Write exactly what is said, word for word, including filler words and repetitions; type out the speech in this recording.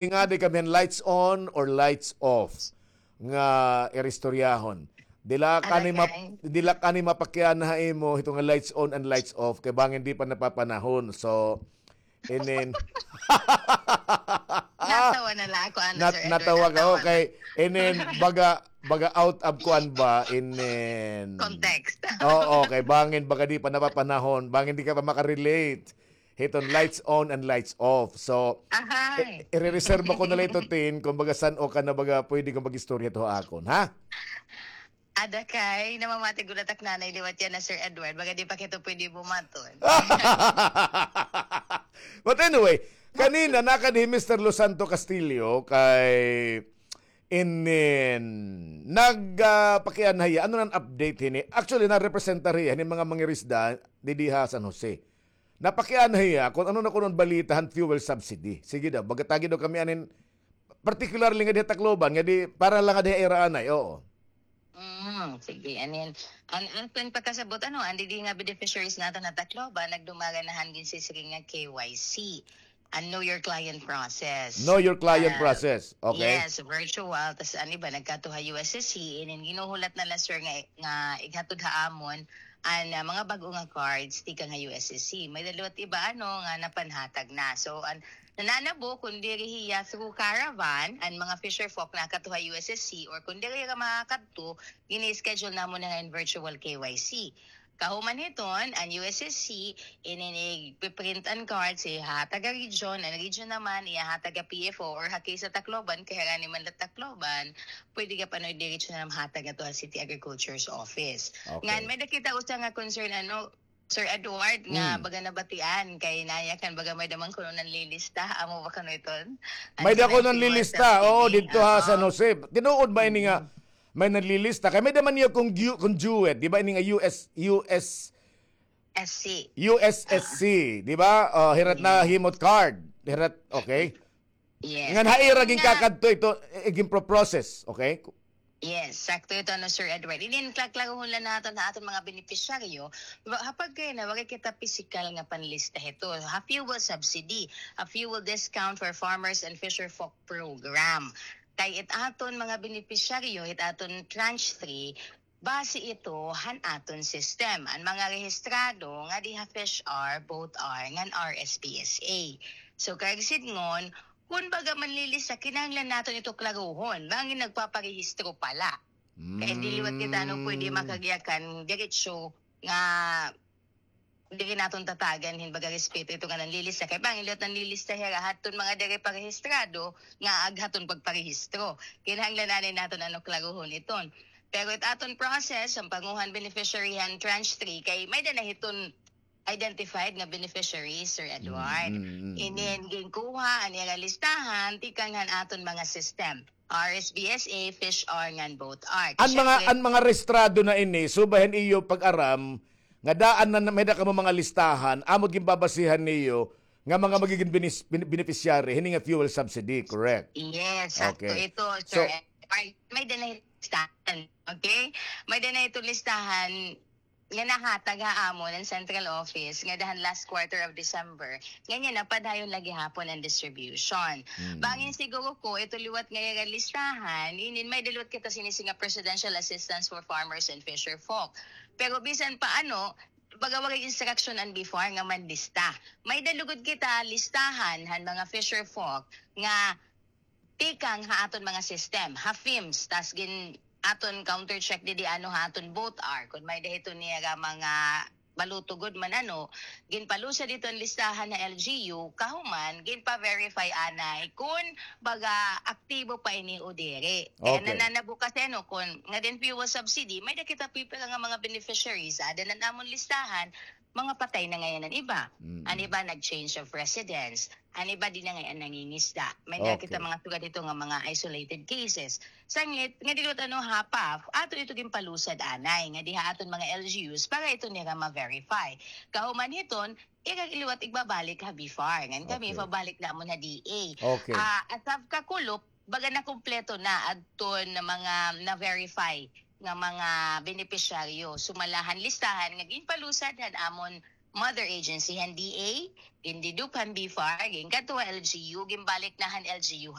Nga di kami lights on or lights off nga iristoryahon. Dila kani map-, dila kani mapakiana ha imo hito nga lights on and lights off kay bangin di pa napapanahon. So, inin. Natawa na lang ako, ano, Nat-, Sir Edward, natawa ka, natawa na. Okay. Inin, baga, baga out of kuan ba, inin. Context. Oo, okay. Bangin, baga di pa napapanahon. Bangin di ka pa makarelate. Hiton lights on and lights off. So, Ahay. I-, irereserba ko na lang ito, Tin, kung baga san-o ka na baga pwede kang mag-istorya to ha akon, ha? Ada kay, namamati gud ak nanay liwat yana, Sir Edward. Baga di pa kita pwede bumaton. But anyway, kanina, nakadi hi Mister Losanto Castillo kay inin, nag, ah, pakiana hiya, ano nan update hini? Actually, narepresentar hiya, hini mga mangirisda, didi ha San Jose. Napakiana hiya kung ano na kuno an balita han fuel subsidy. Sige daw, baga tagi daw kami anin, particularly nga diha Tacloban, nga di, para lang nga diha ira anay, oo. Mm, sige, anin. An aton pagkasabot, ano, an didi nga beneficiaries naton ha Tacloban, nagdumara na han ginsisiring nga K Y C. An know your client process. Know your client Ah, process. Okay. Yes, virtual. Tas an iba nagkadto ha U S S C, inin ginuhulat na la, sir, nga, nga ighatod ha amon an, ah, mga bag-o nga cards tikang ha U S S C. May-ada liwat iba, ano, nga napanhatag na. So, an nananabo, kun diri hiya through caravan, an mga fisher folk nakadto ha U S S C, or kun diri ka makadto, gini-schedule namon na nga in virtual K Y C. Kahuman hiton, an U S S C, inin igpiprint an cards, ihahatag ha region, an region naman, ihahatag ha P F O, or ha case ha Tacloban, kay harani man la Tacloban, pwede ka pa, ano, diretso na mahatag ato ha City Agriculture's Office. Okay. Ngan, may-ada kita usa nga concern, ano, Sir Edward, nga Mm. baga nabatian, kay nayakan, baga may-ada man kuno nanlilista, amo ba kuno iton? An May-ada kuno nanlilista, oo, didto ha San Jose. Tinuod ba ini nga Mm. may nanlilista? Kay may-ada man niya kung Ju-, kung Jewett, di ba ini nga U S, U S S C. U S S C, di ba? Oh, hirat na himot card. Hirat, okay. Yes. Ngan ha ira ginkakadto ito, eh, ginpro-process, okay? Yes, sakto ito, no, Sir Edward. Inin klaklaruhon la naton ha aton mga benepisyaryo, wa-, ha pagkay na, waray kita pisikal nga panlista hito. Ha fuel subsidy, ha fuel discount for farmers and fisher folk program. Kay it aton mga benepisyaryo, it aton tranche three, base ito han aton system. An mga rehistrado nga diha Fish R, Boat R, ngan R S P S A. So, karuyag sidngon, kun baga manlilista, kinahanglan naton ito klaruhon. Bangin nagpaparehistro pa la. Kay di liwat kita, ano, pwede makagyakan, diretso nga diri naton tatagan hin baga respeto ito nga nanlilista. Kay bangin liwat nanlilista hira, hadton mga diri pa rehistrado, nga aghaton pagparehistro. Kinahanglan anay naton, ano, klaruhon iton. Pero it aton process, an panguhan beneficiary han tranche three, kay may-ada na hiton identified nga beneficiary, Sir Edward. Mm, mm, mm, mm. Inin ginkuha an ira listahan tikang han aton mga system. R S B S A, Fish R, ngan Boat R. An mga, an mga rehistrado na ini, subay han iyo pag-aram, nga daan na, may-ada kamo mga listahan, amo it ginbabasihan niyo nga mga magigin benis-, ben-, beneficiary hini nga fuel subsidy, correct? Yes, sakto ito, Sir Edward. May-ada na listahan, okay? May-ada na ito listahan nga nahatag ha amon an central office ngada han last quarter of December. Nganhi na, padayon la gihapon an distribution. Bangin siguro ko, ito liwat nga ira listahan, inin may-ada liwat kita sinisi nga Presidential Assistance for Farmers and Fisher Folk. Pero bisan pa ano, baga waray instruction an BFAR nga manlista. May-ada lugod kita listahan han mga fisher folk nga tikang ha aton mga system, ha FIMS, tas gin-, aton counter check didi ano ha aton Boat R, kun may-ada hito nira mga baluto gud man ano, ginpalusad hito an listahan ha L G U, kahuman, ginpa-verify anay kun baga aktibo pa ini o diri. Kay nananabo kasi ano, kun ngada hin fuel subsidy, may-ada kita pipira nga mga beneficiaries, ada na namon listahan, mga patay na ngay-an an iba. An iba nag-change of residence. An iba di na ngay-an nangingisda. May-ada kita mga sugad hito nga mga isolated cases. Sanglit, nga di liwat ano ha PAF, aton ito ginpalusad anay, nga diha aton mga L G Us para ito nira ma-verify. Kahuman hiton, ira liwat igbabalik ha BFAR. Ngan kami, pabalik namon ha DA. Ah, as of kakulop, baga nakumpleto na adton mga na-verify nga mga benepisyaryo. Sumala han listahan nga ginpalusad han amon mother agency han D A, gindedupe han BFAR, ginkadto han LGU, ginbalik na han LGU